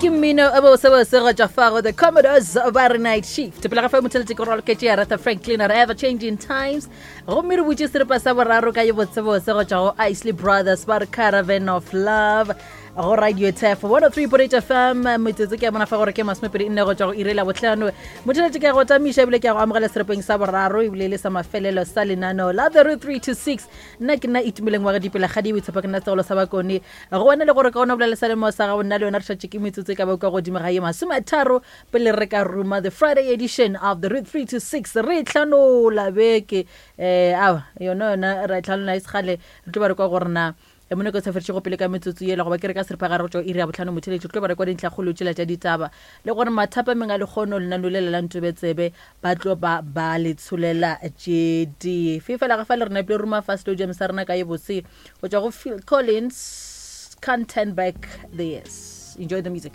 Ke mmino o bosebose go tšwa fa go The Commodores ba re Night Shift. Pele ga fa motheletše ke raloketše Aretha Franklin re Ever Changing Times. Gomme re butše seripa sa boraro ka ye botsebose go tšwa go Isley Brothers ba re Caravan of Love go Radio Tef 103.8 FM. Metsotso ke a bona fa gore ke 24 go tšwa go iri la bohlano. Motheletše ke a go tamiša ebile ke a go amogela seripeng sa boraro ebile e le sa mafelelo sa lenaneo la The Root 3 to 6. Nna ke nna Itumeleng wa ga Dipela Kgadi Boitshepo, ke nna segolo sa Bakone. Go wena le gore ka gona bolela sa lemo sa gago, nna le wena re šetše ke metsotso e ka ba kwa godimo ga ye 30 pele re ka ruma the Friday edition of the Root 3 to 6. Re tlhanola beke eh awa yona yona ra e tlhanola e segale re tlo ba re kwa gore na E mo nako e sa fetšego pele ka metsotso yela, goba ke re ka seripagare go tšwa iri ya bohlano motheeletši, re tlo ba re kwa dintlhakgolo tšela tša ditaba, le gore mathapameng a lekgono lenaneo lela la Ntobetsebe ba tlo ba ba le tsholela tše dife. Fela ga fa le re nepile ruma fa stadium sa rena ka ye bose go tšwa go Phil Collins, Can't Turn Back the Years. Enjoy the music.